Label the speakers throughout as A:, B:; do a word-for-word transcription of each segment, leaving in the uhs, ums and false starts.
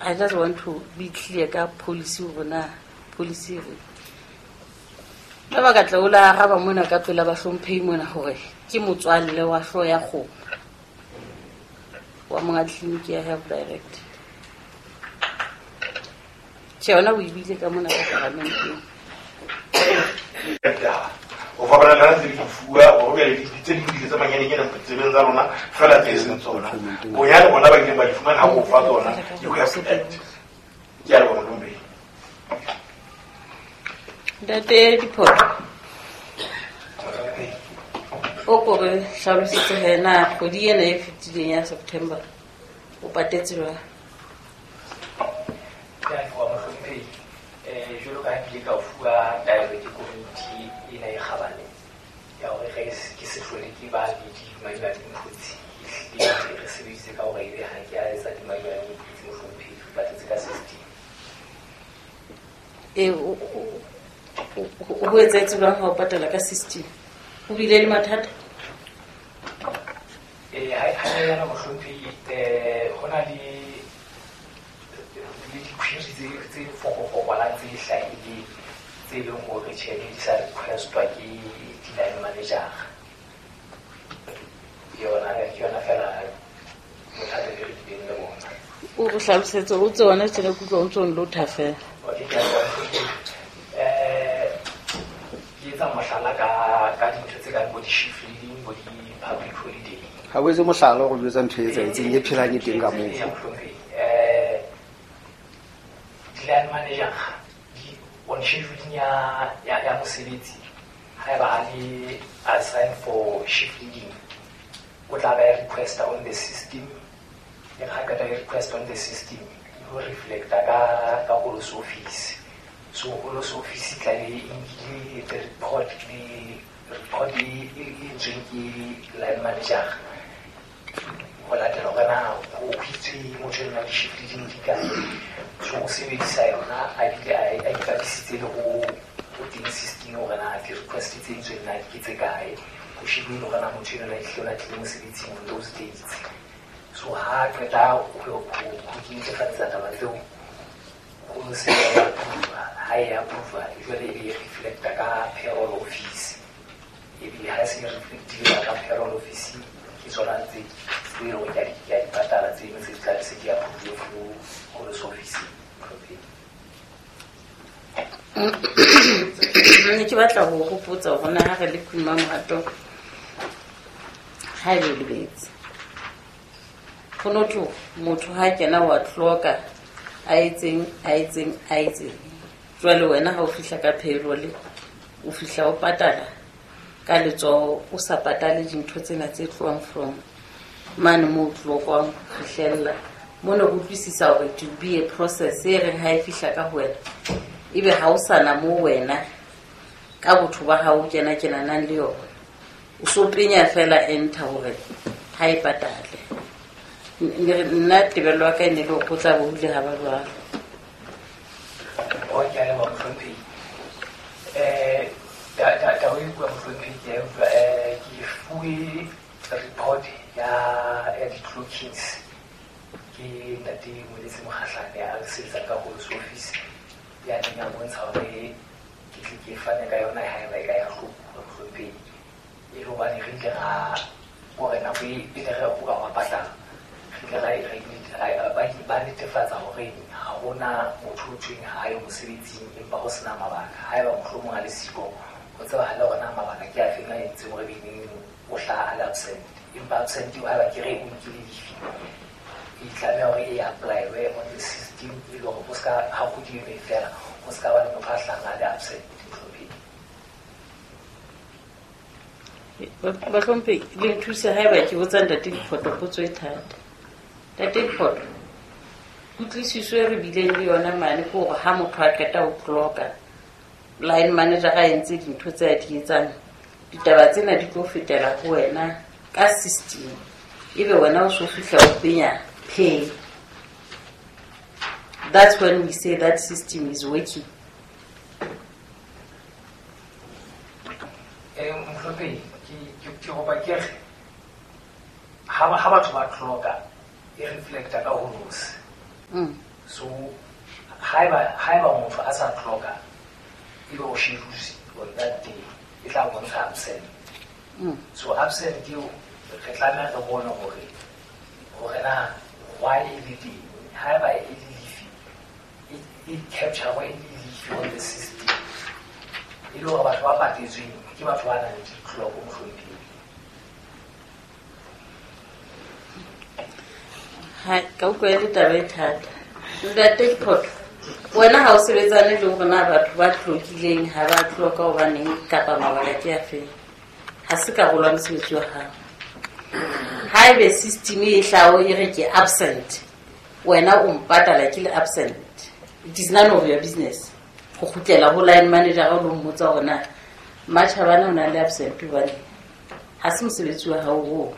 A: I just want to be clear ka policy hore na policy re ba ba ka tla o la araba mona ka pela bahlomphehi mona hore ke motswalle wa hlooho ya kgomo wa monga tleliniki ya Health Direct. Tjhe, yona o ebile ka mona ka paramenteng.
B: O fapana le tse di fuwa hore bjale di tse ding di tse manyanenyana tsebeng tsa rona fela tse seng tsona. Bonyane bona ba ileng ba di fumana ha o fa tsona, you have to act. Ke a leboha, mohlomphehi.
A: Ntate Diphoto, o ko re hlalosetse he na kgwedi ena e fetileng ya September o patetse jwang?
C: Ke a leboha, mohlomphehi. Eh, jwalo ka ha ke ile ka o fuwa taelo ke komiti ena e kgabane ya hore re ke se hlole ke ba le di-manual inputs, ehlile re sebeditse ka hore ebe ha ke a etsa di-manual inputs, mohlomphehi, re patetse ka system.
A: E, o ho etsahetse jwang ha o patala ka system? O bile le mathata?
C: Eh, ha hanyenyana, mohlomphehi, eh, ho na le le di-query tse tse fokofokolang tse hlahileng tse leng hore tjhe di sa requestwa ke di-line manager. Ke yona ke yona fela bothata be re bileng le bona.
A: O re hlalosetse o tse ona tjena ke utlwa o ntso nlotha fela.
C: Okay, ke a leboha, mohlomphehi. Eh, ke etsa mohlala ka ka dintho tse kang bo di-shift leading, bo di-public holiday.
D: Ha o etse mohlala go jwetsa ntho e etsahetseng e phelang e teng ka moo.
C: Ee, mohlomphehi. Eh, di-line manager di on scheduling ya ya ya mosebetsi, haeba a le assigned for shift leading, o tla ba requesta on the system. E ha qeta e request on the system, e ho reflecta ka ka Holo's office. So Holo's office tla be e nkile the report le report e e entsweng ke line manager ho latela hore na ho hwitswe motho enwa di-shift leading di kae. So o sebedisa yona a bile a a ipapisitse le ho ho teng system hore na di-request tse entsweng na ke tse kae, ho shebuwe hore na motho enwa ehlile o na tlile mosebetsing on those dates. So ha qeta ho ho ho netefatsa taba tseo, ho se ya approve. Ha e approve, jwale e be reflecta ka payroll office. Ebile ha se reflectile ka payroll office, ke tsona tse tse e leng hore ke a di ke a di patala tse ding tse tla se di approve through Holo's office.
A: Ne ke batla ho hopotsa hore na ha re le Queen Mamohato ha ebe o lebetse. Ho no thwe motho ha kena wa tloka a etseng a etseng a etseng. Jwale wena ha o fihla ka payroll o fihla o patala ka letsoho, o sa patale dintho tsena tse tlohang from mane moo o tlokwang ho fihlella. Mona ho utlwisisa hore it will be a process e reng ha e fihla ka ho wena ebe ha o sana moo wena ka botho ba hao o kena kenanang le yona. O so penya fela enter hore ha e patale. Nna tebello ya ka e ne le hore ho tla be ho ile ha ba jwalo.
C: O ke a leboha, mohlomphehi. Eh, taba e bua, mohlomphehi, ke a utlwa. Eh, ke fuwe report ya ya di-clockings ke ntate Moeletsi Mokgahlane a sebetsang ka Holo's office, ya neng a bontsha hore ke tle ke fane ka yona haeba e ka ya hlokuwa, mohlomphehi. E le hobane re ile ra hore nako e pele re o ka wa patala, re ile ra ba ba netefatsa hore ha hona motho o thweng ha yo mosebetsing empa ho sena mabaka. Haeba mohlomong a le siko, ho tsebahale hore na mabaka ke a feng a entseng hore beneng o hlaha a le absent. Empa absent eo haeba ke re o nkile leave, e tlameha hore e apply-we on the system e le hore ho ska ha kgwedi eno e fela, ho ska ba le motho a hlahang a le absent, mohlomphehi.
A: Bahlomphehi, le nthuse haeba ke botsa ntate Diphoto potso e thata. Ntate Diphoto, kutlwisiso e re bileng le yona mane ke hore ha motho a qeta ho clocka, line manager a entse dintho tse a di etsang, ditaba tsena di tlo fetela ho wena ka system. Ebe wena o so fihla o penya pay. That's when we say that system is working.
C: Eh, mohlomphehi, ke ke ke kopa ke re ha ha batho ba clocka e reflecta ka Holo's.
A: Mm.
C: So Haeba haeba motho a sa clocka ebe o schedule on that day e tla bontsha absent. So absent eo re tlameha re bone hore hore na why e le teng. Haeba e le leave e capture e le leave on the system e le hore batho ba patetsweng ke batho ba nang le di-clock mohlomphehi.
A: Ha ka utlwa e le taba e thata. Ntate Diphoto, wena ha o sebetsane le hore na batho ba tlokileng ha ba tloka hobaneng kapa mabaka ke afe. Ha se karolo ya mosebetsi wa hao. Haebe system e hlaho e re ke absent, wena o mpatala ke le absent. It is none of your business. Go kgutlela ho line manager o lo mmotsa hore na Matjhabane o na le absent hobane ha se mosebetsi wa hao oo.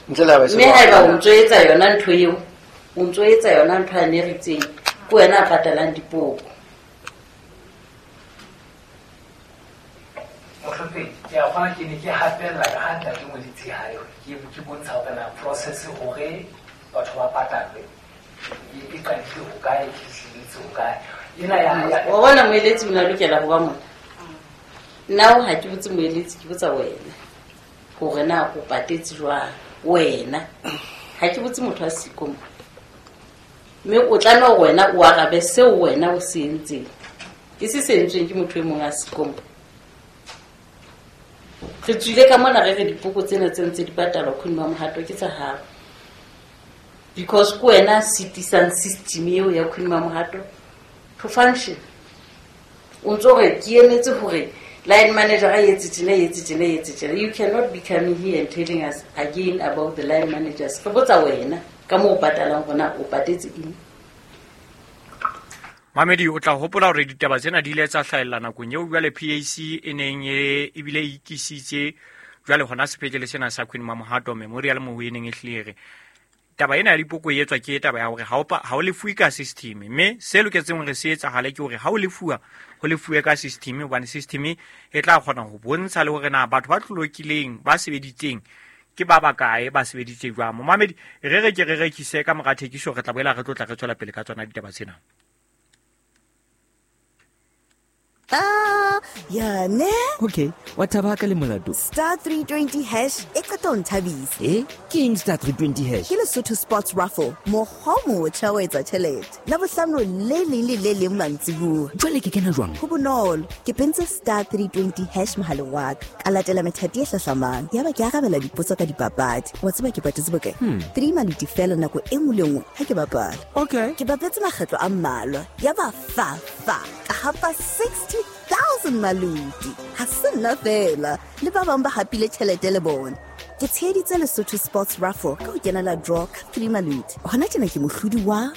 D: Ntle le ha ba se
A: Mme haeba o ntso etsa yona ntho eo, o ntso etsa yona ntho a ne re itseng, ke wena a patalang dipoko.
C: Mohlomphehi, ke a kgona ke ne ke hapella ka ha ntate Moeletsi hae ke ke bontsha hore na process hore batho ba patalwe e e qadile ho kae, e fihlelletse ho kae. Ena ya ya
A: Wa bona moeletsi o na lokela ho ba mona. Nna ha ke botse moeletsi, ke botsa wena hore na o patetse jwang wena. Ha ke botse motho a siko mo. Mme o tlameha hore wena o arabe seo wena o se entseng. Ke se se entsweng ke motho e mong a siko mo. Re tswile ka mona re re dipoko tsena tse ntse di patalwa Queen Mamohato ke tsa hao. Because ke wena a sitisang system eo ya Queen Mamohato to function. O ntso re ke emetse hore line manager a etse tjena, e etse tjena, e etse tjena. You cannot be coming here and telling us again about the line managers. Re botsa wena ka moo o patalang hore o patetse eng.
E: Mamedi, o tla hopola hore ditaba tsena di ile tsa hlahella nakong eo jwale P A C e neng e ebile e ikisitse jwale hona sepetlele sena sa Queen Mamohato Memorial moo e neng e hlile re. Taba ena ya dipoko e etswa ke taba ya hore ha o pa-, ha o lefuwe ka system, mme se loketseng hore se etsahale ke hore ha o lefuwa, ho lefuwe ka system, hobane system e tla kgona ho bontsha le hore na batho ba tlolokileng, ba sebeditseng ke ba bakae, ba sebeditse jwang. Momamedi, re re ke re rekise ka mora thekiso, re tla boela re tlotla re tswela pele ka tsona ditaba tsena.
F: Ah, ya ne?
G: Okay, wa thaba ka le molato.
F: Star three twenty hash e qeta ho nthabisa.
G: Eh, ke eng star three twenty hash?
F: Ke Lesotho Sports Raffle, mokgwa o motjha wa etsa tjhelete. Labohlano le leng le le leng mantsibuya.
G: Jwale ke kena jwang?
F: Ho bonolo, ke pentse star three twenty hash mohaleng wa ka. Ka latela methati e hlahlamang. Yaba ke arabela dipotso ka dipapadi. Wa tseba ke patetse bokae?
G: Hmm.
F: Three maluti fela nako e nngwe le nngwe ha ke bapala.
G: Okay.
F: Ke bapetse makgetlo a mmalwa. Yaba fa fa ka hapa sixty thousand maluti. Ha se nna fela, le ba bang ba hapile tjhelete le bona. Ke tsheheditse Lesotho Sports Raffle ka ho kenela draw ka three maluti. Hona tjena ke mohlodi wa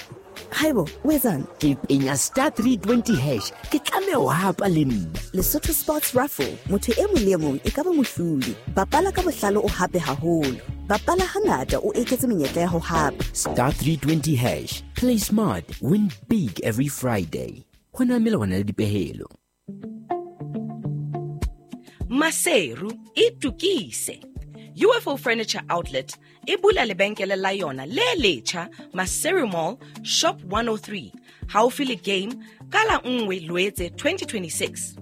F: Haibo, o etsang?
G: Ke penya star three twenty hash. Ke tlameha ho hapa le nna.
F: Lesotho Sports Raffle, motho e mong le e mong e ka ba mohlodi. Bapala ka bohlale o hape haholo. Bapala hangata o eketse menyetla ya ho hapa.
G: Star three twenty hash. Play smart, win big every Friday. Ho na melawana le dipehelo.
H: Maseru itukise. U F O Furniture Outlet e bula lebenkele la yona le letjha Maseru Mall Shop one oh three haufi le Game ka la nngwe Loetse twenty twenty-six.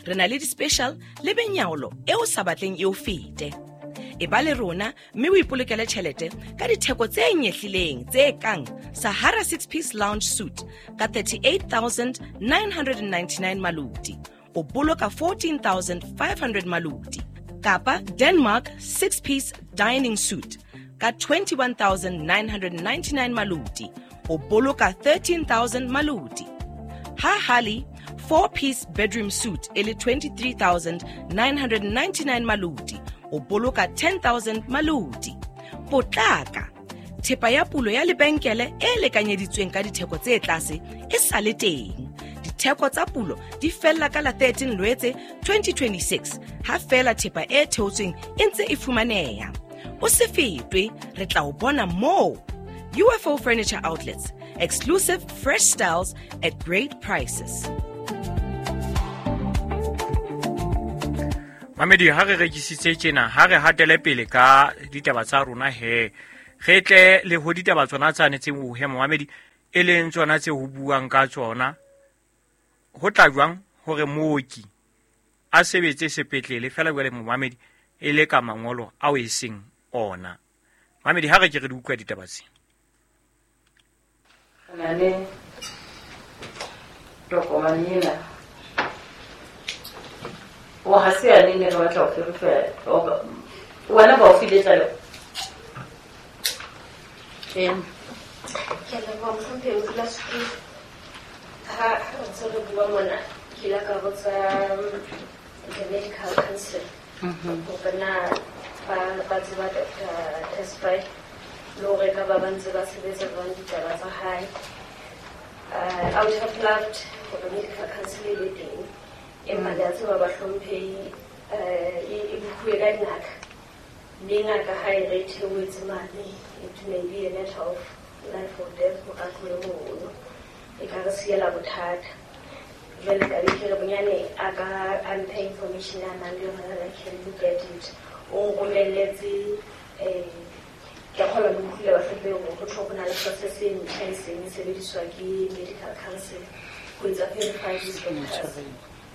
H: Re na le di-special le benyaolo e o sa batleng e o fete. E ba le rona mme o ipolokele tjhelete ka ditheko tse nyehlileng tse kang Sahara six-piece lounge suite ka thirty-eight thousand nine hundred ninety-nine maluti, o boloka fourteen thousand five hundred maluti, kapa Denmark six-piece dining suite ka twenty-one thousand nine hundred ninety-nine maluti, o boloka thirteen thousand maluti. Ha Hali four-piece bedroom suite e le twenty-three thousand nine hundred ninety-nine maluti, o boloka ten thousand maluti. Potlaka, thepa ya pulo ya lebenkele e lekanyeditsweng ka ditheko tse tlase e sa le teng. Ditheko tsa pulo di fella ka la thirteen Loetse twenty twenty-six, ha fela thepa e theotsweng e ntse e fumaneha. O se fetwe, re tla o bona moo. U F O Furniture Outlets, exclusive fresh styles at great prices.
E: Mamedi, ha re rekisitse tjena, ha re hatele pele ka ditaba tsa rona he. Re tle le ho ditaba tsona tsa netseng ho he, Mamedi. E leng tsona tse ho buang ka tsona ho tla jwang hore mooki a sebetse sepetlele fela jwale momamedi e le ka mangolo ao e seng ona. Mamedi ha re ke re di utlwa ditaba tse.
A: Na le tokomane ena o ha se ya nene re batla ho verify wena ba o file tlaleho. Em
I: Ke a leboha mohlomphehi modulasetulo. Ha ha re ntse re bua mona ke ile ka botsa the medical council hore na ba ba tseba Doctor Tesfaye le hore ka ba ba ntse ba sebetsa jwang ditaba tsa hae. Uh, I would have loved hore medical council e be teng, empa le a tseba bahlomphehi uh, e e bukhuwe ka dingaka, mme ngaka ha e re theohetse mane, it may be a matter of life or death hore a tlohe mono, e ka re siela bothata. Jwale ka be ke re bonyane a ka a mphe information a nang le yona that I can look at it. O nromelletse eh ke a kgolwa le utlwile bahlomphehi hore ho thwe ho na le process e ntjha e seng e sebediswa ke medical council ho etsa verify these doctors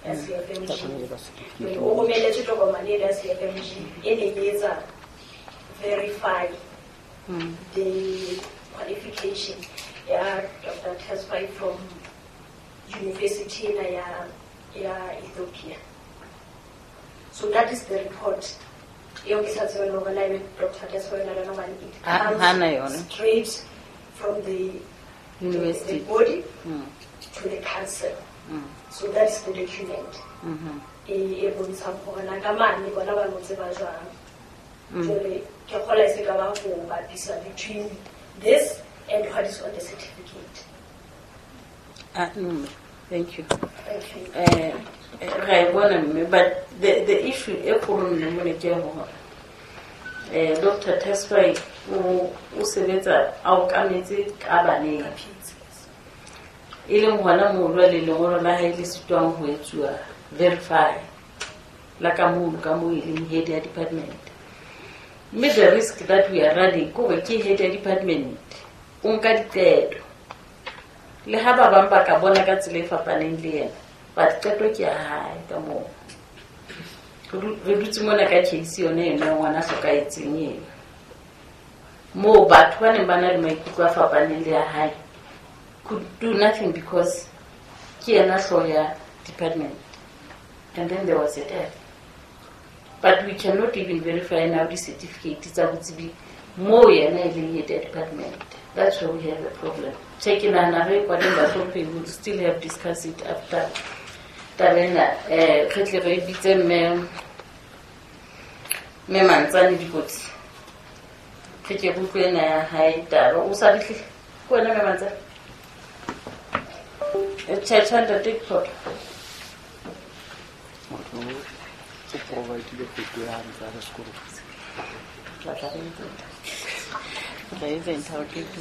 I: ya C F M G. O romelletse tokomane ena ya C F M G e neng e etsa verify the qualification ya Doctor Tesfaye from university ena ya ya Ethiopia. So that is the report. Eo ke sa tsebeng hore na ebe Doctor Tesfaye o na le yona hobane it
A: Ha-
I: comes
A: hana yona.
I: straight from the
A: University.
I: the body
A: Mm.
I: to the council.
A: Mm.
I: So that's the document.
A: Mhm.
I: E e bontshang hore na ka mane bona ba mo tseba jwang.
A: Mm.
I: Jwale ke kgolwa e se ka ba ho bapisa between this and what is on the certificate.
A: Ah, no, thank you.
I: Thank you.
A: Eh, ra e bona mme, but the the issue e kgolo mme mone ke hore eh Doctor Tesfaye o o sebetsa a okametse ka baneng, e leng hona moo jwale lengolo la hae le sitwang ho etsuwa verify la ka mono ka moo e leng head ya department. Mme the risk that we are running ke hore ke head ya department o nka diqeto le ha ba bang ba ka bona ka tsela e fapaneng le yena, but qeto ke ya hae ka moo. Re du-, re dutse mona ka case yone eno ya ngwana a hlokahetseng eno, moo batho ba neng ba na le maikutlo a fapaneng le ya hae could do nothing because ke yena hlooho ya department, and then there was a death. But we cannot even verify now the certificate tsa botsebi moo yena e leng head ya department. That's where we have a problem. Tjhe, ke nahana re kwaleng bahlomphehi, we will still have discussed it after taba ena. Eh, re tle re bitse mme, mme Mantsane dikotsi, re ke re utlwe ena ya hae taba. O sa fihle ke wena mme Mantsane? Eh, tjhe, tjhe, ntate Diphoto.
D: Motho o provide-ile photo ya hae ntse a le sekolong.
A: Tla tla re etsa. Tla etsa interrogate.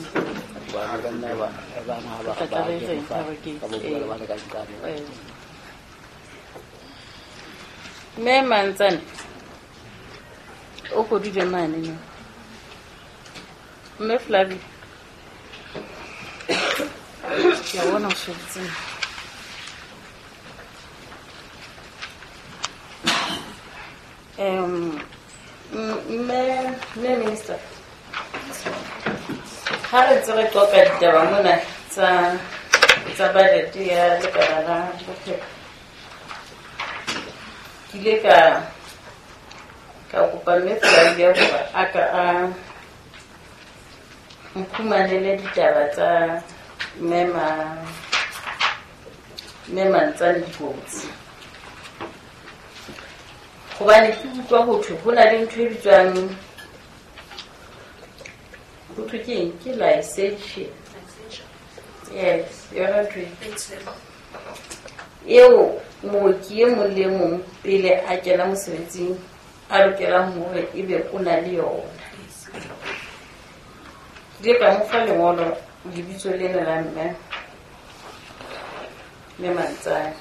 D: Bana ba nna ba, bana ha ba
A: Tla tla re etsa
D: ba
A: interrogate.
D: ka bo bua le bana ka nqane.
A: Eh. Mme Mantsane, o kodule mane no. Mme Flavie. Ke a bona o shebetse. Em, mme, mme minister, ha re ntse re qoqa ditaba mona tsa, tsa budget ya lekala la bophelo, ke ile ka, ka kopa mme Flavia hore a ka a mphumanele ditaba tsa mme ma-, mme Mantsane dikotsi. Hobane ke utlwa ho thwe ho na le ntho e bitswang, ho thwe ke eng? Ke licensure. Yes, yona ntho e. Eo mooki e mong le e mong pele a kena mosebetsing a lokelang hore ebe o na le yona. Ke ile ka mo fa lengolo lebitso lena la mme, mme Mantsane.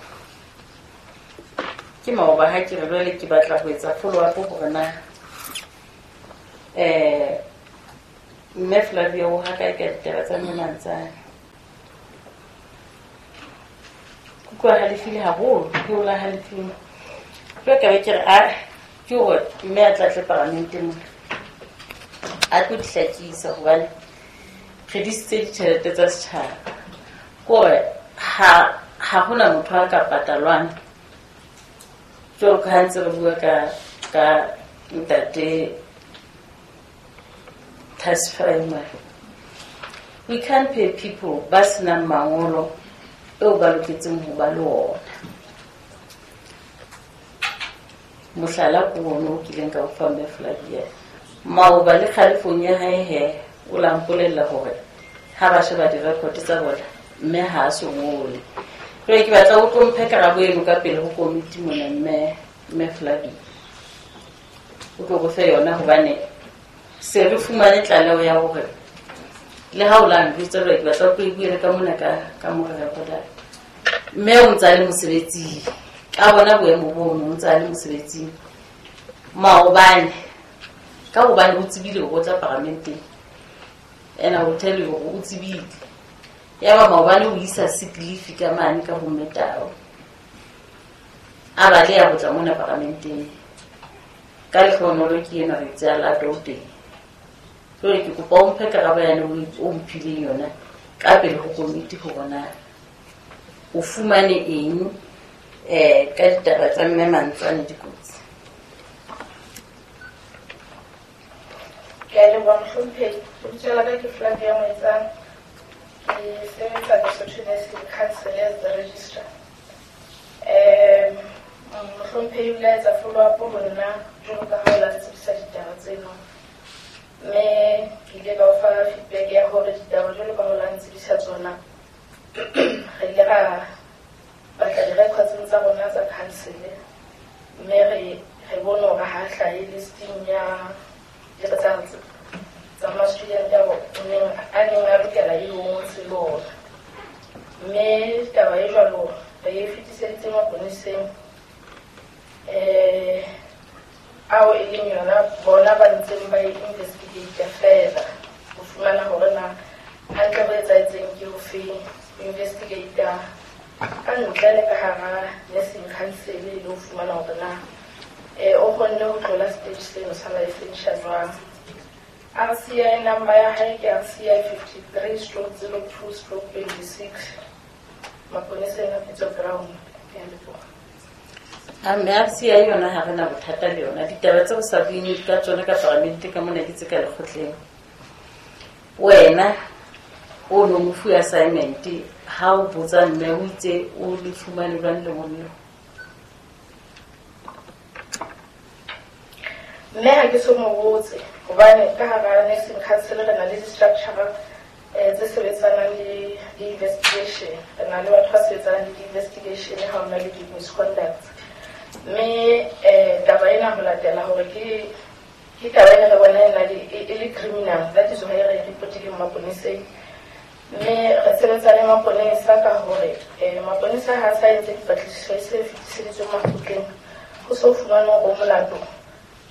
A: Ke maoba ha ke re jwale ke batla ho etsa follow up hore na, eh, mme Flavia o ha kae ka ditaba tsa mme Mantsane. Utlwa halefile haholo, ke o la halefile. Jwale ka be ke re a ke hore mme a tla tle paramenteng mona a tlo di hlakisa hobane re disitse ditjhelete tsa setjhaba. Ke hore ha ha hona motho a ka patalwang jwalo ka ha ntse re bua ka ka ntate Tasfaima. We can't pay people ba senang mangolo eo ba loketseng ho ba le ona. Mohlala ke ono o kileng ka o fa mme Flavia. Maoba le kgalefong ya hae he, o la mpolella hore ha ba sheba di-record tsa bona mme ha a so ngole. Jwale ke batla o tlo mphe karabo eno ka pele ho komiti mona mme mme Flavia. O tlo go fe yona hobane se re fumane tlaleho ya hore le ha o la njwetsa jwale ke batla o tlo e buele ka mona ka ka mo re recorda. Mme o ntse a le mosebetsing. Ka bona boemo bono o ntse a le mosebetsing. Maobane ka hobane o tsebile hore o tla paramenteng. And I will tell you hore o tsebile. Yaba maobane o isa sick leave ka mane ka ho mme Tau. A baleha ho tla mona paramenteng. Ka lehlohonolo ke enwa re itse a lata o teng. Jwale ke kopa o mphe karabo yane o mphileng yona ka pele ho komiti hore na o fumane eng eh ka ditaba tsa mme Mantswane dikotsi.
J: Ke a leboha mohlomphehi. Lebitso la ka ke Flavia Moetsang. Ke sebetsa Lesotho Nursing Council as the registrar. Um mohlomphehi o ile a etsa follow up ho nna jwalo ka ha o la ntsebisa ditaba tseno. Mme ke ile ka o fa feedback ya hore ditaba jwalo ka ha o la ntsebisa tsona re ile ra batla di-records tsa rona tsa council mme re re bone hore ha hlahe listing ya tsa tsa ma-student ao neng a neng a lokela e ngotse le ona. Mme taba e jwalo re e fetiseditse maponeseng eh ao e leng yona bona ba ntseng ba e investigate fela ho fumana hore na hantle ho etsahetseng ke hofe. Investigate ka ntle le ka hara nursing council e le ho fumana hore na eh o kgonne ho tlola stage seno sa licensure jwang. R C I number ya hae ke R C I fifty-three stroke zero two stroke twenty-six maponeseng a Pitso Ground. Ke a leboha.
A: A mme R C I yona ha re na bothata le yona. Ditaba tse o sa bueng ka tsona ka paramente ka mona ke tse ka lekgotleng. Wena o no mo fuwe assignment ha o botsa mme o itse o le fumane jwang lengolo leo?
J: Mme ha ke so mo botse hobane ka hara nursing council re na le di-structure eh tse sebetsanang le di-investigation. Re na le batho ba sebetsanang le di-investigation ha ho na le di-misconduct. Mme eh taba ena ho latela hore ke ke taba ena re bona e na le e le criminal, that is why re reportile maponeseng. Mme re sebetsa le maponesa ka hore eh maponesa ha sa entse dipatlisiso e se fetiseditswe makgotleng ho so fumanwe hore molato.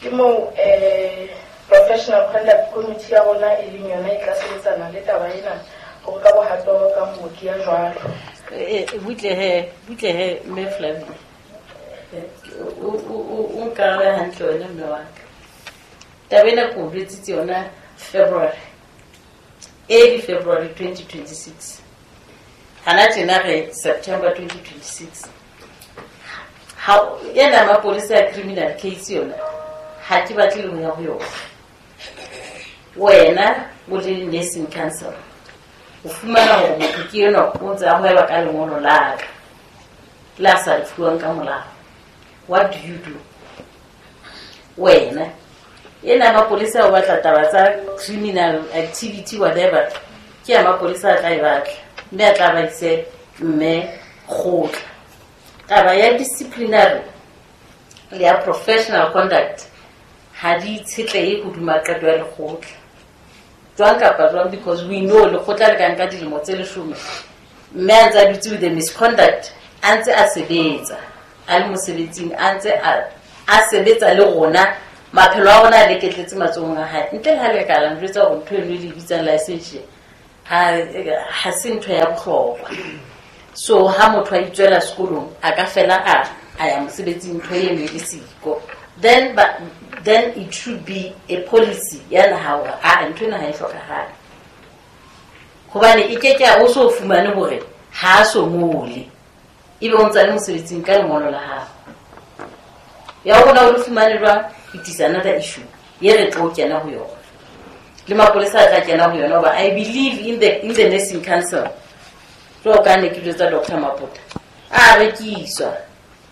J: Ke moo eh professional conduct committee ya rona e leng yona e tla sebetsana le taba ena hore ka bohato ka mooki ya jwalo.
A: Eh butle he butle he mme Flavia. O o o nkarabe hantle wena mme wa ka. Taba ena ke o jwetsitse yona February. Early February twenty twenty-six. Hana tjena re September twenty twenty-six. Ha ena mapolisa ya criminal case yona ha ke batle le ho ya ho yona. Wena o le nursing council o fumana hore motho ke enwa o ntse a hweba ka lengolo la ka la sa le fuwang ka molao. What do you do? Wena ena mapolisa o batla taba tsa criminal activity whatever ke ya mapolisa a tla e batla mme a tla ba ise mme kgotla. Taba ya disciplinary le ya professional conduct ha di itshetlehe hodima qeto ya lekgotla jwang kapa jwang, because we know lekgotla le ka nka dilemo tse leshome mme a ntse a dutse with the misconduct a ntse a sebetsa a le mosebetsing a ntse a sebetsa le rona maphelo a rona a leketletse matsohong a hae ntle le ha le ka la njwetsa hore ntho eno e le bitsang licensure ha ha se ntho ya bohlokwa. So ha motho a itswela sekolong, a ka fela a a ya mosebetsing, ntho eno e le siko, then but then it should be a policy ya naha hore a ntho ena ha e hlokahale, hobane e ke ke o so fumane hore ha a so ngole, ebe o ntsa le mosebetsing ka lengolo la hao ya rona o le fumane jwang. It is another issue ye re tlo kena ho yona, le mapolesa a tla kena ho yona, hoba I believe in the, in the nursing council, jwalo ka ne ke jwetsa Doctor Mapota, a rekiswa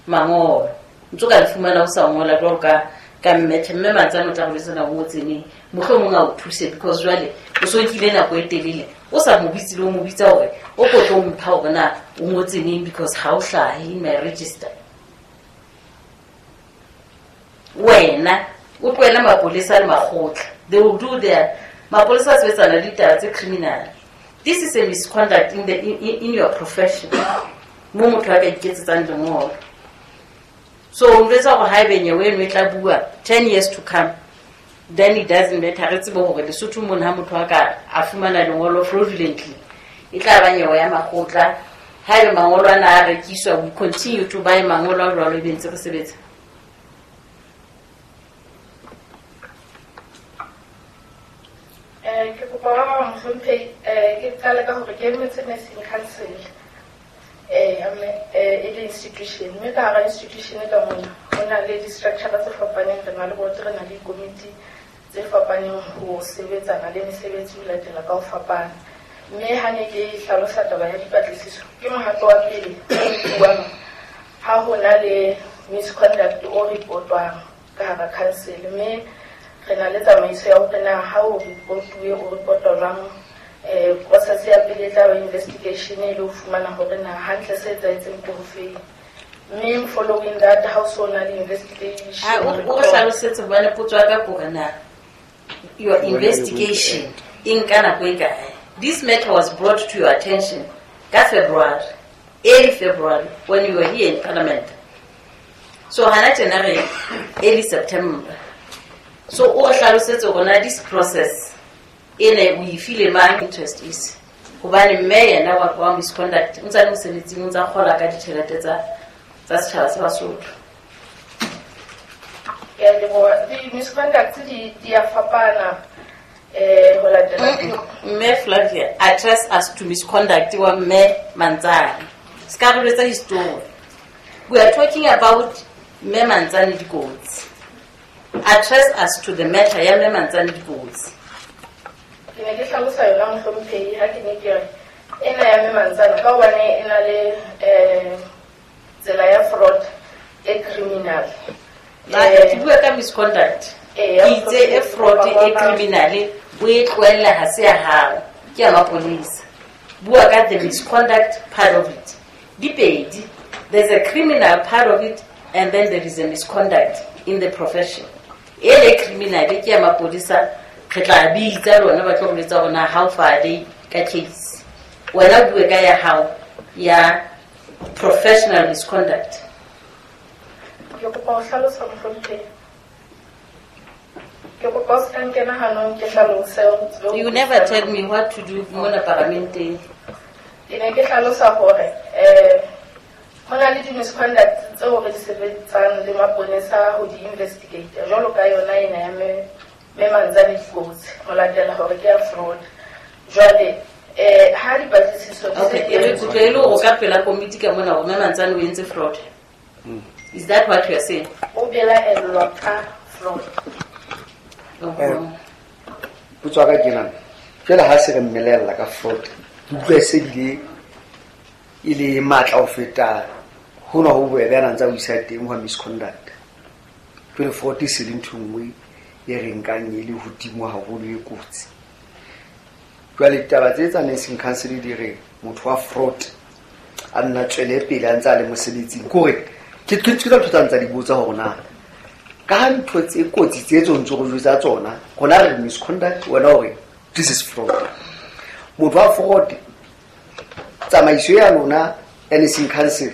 A: mangolo, ntse o ka le fumana o sa ngola jwalo ka ka mmethe mme Mantsane o tla go jwetsa o ngotseneng, mohlomong a o thuse, because jwale o so nkile nako e telele o sa mo bitse, le o mo bitsa hore o ko tlo mpha hore na o ngotseneng, because ha o hlahe in my register. Wena o tlohele mapolesa le makgotla, they will do their mapolesa a sebetsana le ditaba tse criminal. This is a misconduct in, the, in, in your profession mo motho a ka iketsetsang lengolo. So o njwetsa hore haebe nyewe eno e tla bua ten years to come, then it doesn't matter. Re tsebe hore Lesotho mona ha motho a ka a fumana lengolo fraudulently, e tla ba nyewe ya makgotla. Haebe mangolo ana a rekiswa, we continue to buy mangolo a jwalo, ebe ntse re sebetsa.
J: Eh, ke kopa ba bang, mohlomphehi, eh, ke qale ka hore ke emetse nursing council, eh, eh, e le institution, mme ka hara institution ka mona ho na le di-structure tse fapaneng, re na le board, re na le dikomiti tse fapaneng ho sebetsana le mesebetsi ho latela ka ho fapana. Mme ha ne ke hlalosa taba ya dipatlisiso, ke mohato wa pele o nkuwang ha ho na le misconduct o report-wang ka hara council, mme re na le tsamaiso ya hore na ha o reportuwe o reportwa jwang. Eh, process ya pele e tla ba investigation e le ho fumana hore na hantle se etsahetseng ke hofeng, mme following that ha o so na le investigation.
A: Ah, o o re hlalosetse, hobane potso ya ka ke hore na your investigation e nka nako e kae. This matter was brought to your attention ka February, early February, when you were here in Parliament. So hana tjena re early September. So o re hlalosetse hore na this process ene o e file mang, interest is, hobane mme yena wa wa misconduct o ntsa le mosebetsing, o ntsa kgola ka ditjhelete tsa tsa setjhaba sa Basotho.
J: Ke a leboha. Di-misconduct di di a fapana, eh, ho latela
A: Mme Flavia, address us to misconduct wa mme Mantsane, se ka re jwetsa history. We are talking about mme Mantsane dikotsi. Address us to the matter ya mme Mantsane dikotsi.
J: Ke ne ke hlalosa yona, mohlomphehi, ha ke ne ke re ena ya mme Mantsane, ka hobane e na le eh, tsela ya fraud e criminal.
A: Na ke bua ka misconduct.
J: Eh,
A: ke itse e fraud e criminal o e tlohella, ha se ya hao, ke ya maponesa. Bua ka the misconduct part of it. Di pedi. There's a criminal part of it and then there is a misconduct in the profession. E le criminal ke ya mapodisa, re tla bitsa lona ba tlo go letsa hore na how far are they ka case. Wena o bue ka ya hao ya professional misconduct.
J: Ke kopa ho hlalosa, mohlomphehi. Ke kopa o se ka nkena hanong ke hlalose o tsebe ho
A: You never tell me what to do mona paramenteng.
J: Ke ne ke hlalosa hore eh ho na le di-misconduct tseo re di sebetsang le maponesa ho di investigate, jwalo ka yona ena ya mme mme Mantsane dikotsi, ho latela hore ke ya fraud. Jwale eh ha dipatlisiso di se
A: Okay,
J: di
A: e re
J: entswe-
A: kutlwe e le hore o ka pela komiti ka mona hore mme Mantsane o entse fraud. Is that what you are saying?
J: O belaellwa ka fraud.
D: Eh, potso ya ka ke nana jwale ha se re mmelella ka fraud, ke utlwa e se bile e le matla ho feta hona ho bobebe a na ntse a o isa teng hwa misconduct. Jwale fraud e se le ntho e nngwe e re nkang e le hodimo haholo, e kotsi. Jwale ditaba tse tsa nursing council di re motho wa fraud a nna tswele pele a ntse a le mosebetsing, ke hore ke ke ke ntho tsa ntsa di botsa hore na ka ha ntho tse kotsi tse tse ntse go jwetsa tsona, rona re misconduct, wena hore this is fraud. Motho wa fraud, tsamaiso ya lona ya nursing council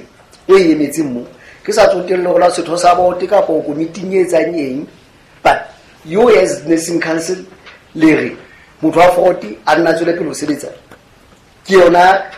D: o e emetseng mo, ke sa tsotelle hore la setho sa bote kapa o komiting e etsang eng, but you as nursing council le re motho wa fraud a nna tswele pele ho sebetsa, ke yona.